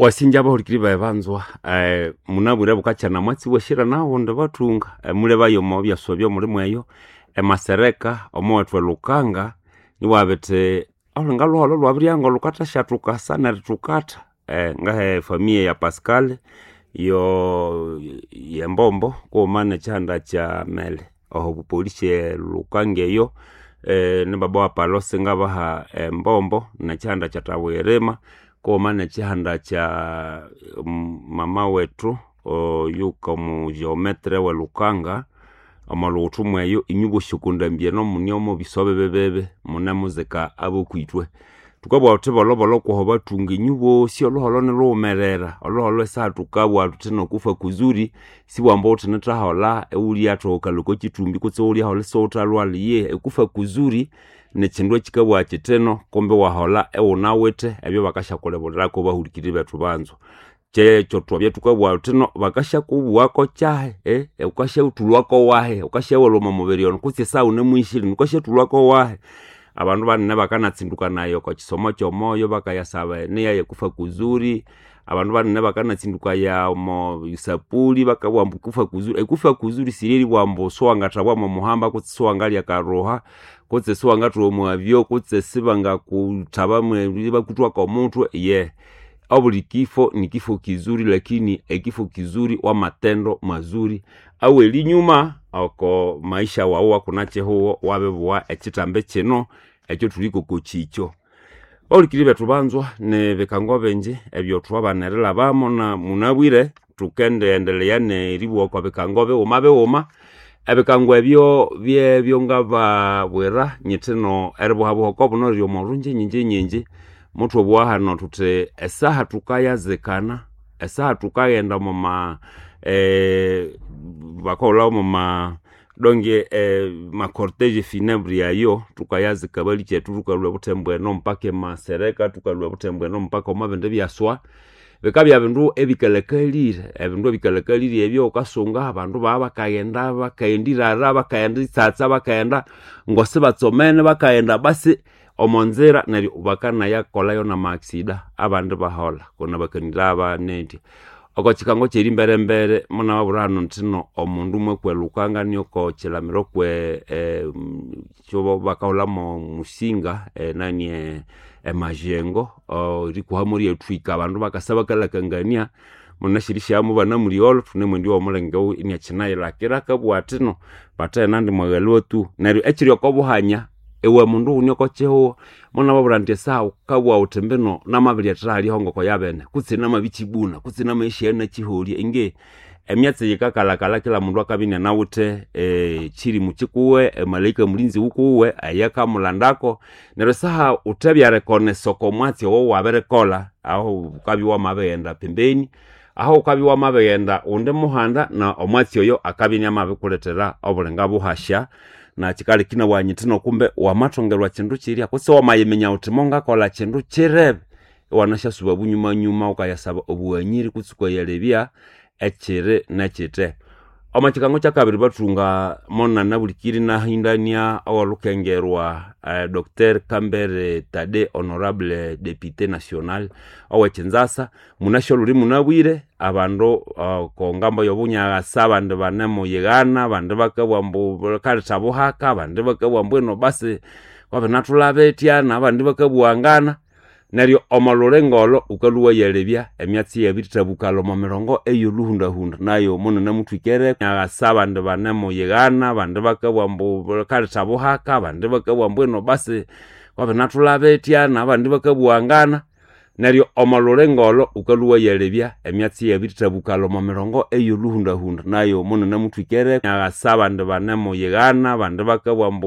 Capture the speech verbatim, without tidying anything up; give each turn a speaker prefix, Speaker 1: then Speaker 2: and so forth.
Speaker 1: Wasinja abahulikiri bayi banzwa eh, munabwire bukakyana mwatsi bweshira nawundi bathunga eh, mulebayo omo byaswa byomulimu eyo emasereka omowethu elukanga niwabithi olhulinga lhuholho lwabiryanga lhukathasyathukasa nerithukatha eh, ngahe familia ya Pascal yo yembombo kughuma nekyihanda kya Mele oho bupolisi elukanga eyo eh, ni baba wa Palose ngabaha embombo nekyihanda kya Tabwirima kughuma nekyihanda kya mm, mama wethu oyuka omu geometre welukanga omo lughuthu mweyo inywe bosi okondambya eno mune omo bisobe bibibi munemuzika abokwitwe thukabugha thuthi bolhobolho kwoho bathunga inywe bosi olhuholho nilhughumerera olhuholho esaha thukabugha thuthi nokufa kuzuri sibwamba ghuthinithaholha ighulyaathohokalha okwa kyithumbi kutse ighulyaholha isighuthalhwalha iyihi ekufa kuzuri nikyindu ekyikabugha kyithino kumbi iwaholha ighunawithe ebyo bakasyakulebulirako bahulikiriri bethu banzwa kyekyo thwabya thukabugha thuthino bakasyakubughako kyahi eh, ghukasyathulhwako wahi ghukasyaghulha omo mubiri ono kutse esaha ghunemwishire ghukasyathulhwako wahi abandu banene bakanatsindukanaya oko kisomo kyomoyo bakayasaba eniya yekufa kuzuri abandu banene bakanatsindukaya omo isapuli bakabugha ambu kufa kuzuri ekufa kuzuri sirieribugha ambu siwangathabwa mwomuhamba kutse siwangalya akaruha kutse siwangathuwa omwabyo kutse sibangakuthaba bakuthwako omuthwe ye obuli kifo ni kifo kizuri lakini ekifo kizuri wamatendo mazuri awelinyuma oko maisha wawu wakunakyihugho wabibugha ekyithambi kino ekyo thuliko kyikyo bahulikiriri bethu banzwa nibikango bingi ebyo thwabana erilhabamo na munabwire thukendiendelea neribugha okwa bikango bighuma bighuma ebikango ebyo byebyo ngababwira nyithino eribuhabuha oko buno riri omo rungye nyingi nyingi muthwabugha hano thuthi esaha thukayazikana esaha thukaghenda omoma eh, bakahulha omoma donge eh, macortege funèbre ayo thukayazika balikyethu thukalhwa ebuthembo eno mpaka emasereka thukalhwa ebuthembo eno mpaka omo bindi byaswa bikabya bindu ebikalakalire ebindu ebikalakalire ebyo wukasunga abandu baba bakaghenda bakaghenda irara bakaghenda itsatsa bakaghenda ngosibatsomene bakaghenda basi omo nzira neryo bakanayakolayo nama accident abandi baholha kona bakanira abanendya oko kikango kyeri mbere munababwira hano nthino omundu mwekwelukanga nioko kilamiro kwe eh, kyo bakahulha musinga eh, nani eh, emajengo erikuhamo ryethwika abandu bakasa bakalakangania munashirisyamu banamuliolo thunemwendi womulenge iniakinayilakira akabugha athino bathena ndi mwaghalwa tu neryo ekiri oko buhanya iwe mundu ghune oko kihugho munababwira indi esaha ghukabugha ghuthi mbino namabiryethera hali ngoko yabene kutse namabikyibuna kutse namaghishaya nakiholya inge emyatsi yikakalhakalha kila mundu akabya inianawithe kyirimu kyikuwe emalaika mulinzi wukuwe eyakamulandako neryo esaha ghuthebyarekonesa oko mwatsi owo wabirikolha aho ghukabya wamabighenda pembeni aho ghukabya wamabighenda ghundi muhanda na omwatsi oyo akabya iniamabikulethera obulinga buhasya na kyikaleka inabugha nyithino kumbe wamathongerwa kyindu kyirya kutse wamayiminya ghuthi mongakolha kyindu kyirebe iwanasyasuba bunyumanyuma ghukayasaba obughanyiri kutse ghukayalebya ekyiri nekyite omo kikango kyakabiri bathunga monana bulikiri nahindania owolhukengerwa eh, Dr Kambere Tade honorable député national owekinzasa munasyo olhuli munabwire abandu uh, kongambo yobunyakasa abandi banemuyighana abandi bakabugha ambu kaletha buhaka abandi bakabugha ambu ino basi kwabinathulha na abandi bakabughangana neryo omo lulinga olo ghukalhwa iwayalebya emyatsi yabirithabukalha omo mirongo eyolhuhundahunda nayo munanamuthwikere nyakasa abandi banemuyighana abandi bakabugha ambu kaletha buhaka abandi bakabugha ambu ino basi kwabinathulha na abandi bakabughangana neryo omo lulinga olo ghukalhwa iwayalebya emyatsi yabirithabukalha omo mirongo eyolhuhundahunda nayo munanamuthwikere nyakasa abandi banemuyighana abandi bakabugha ambu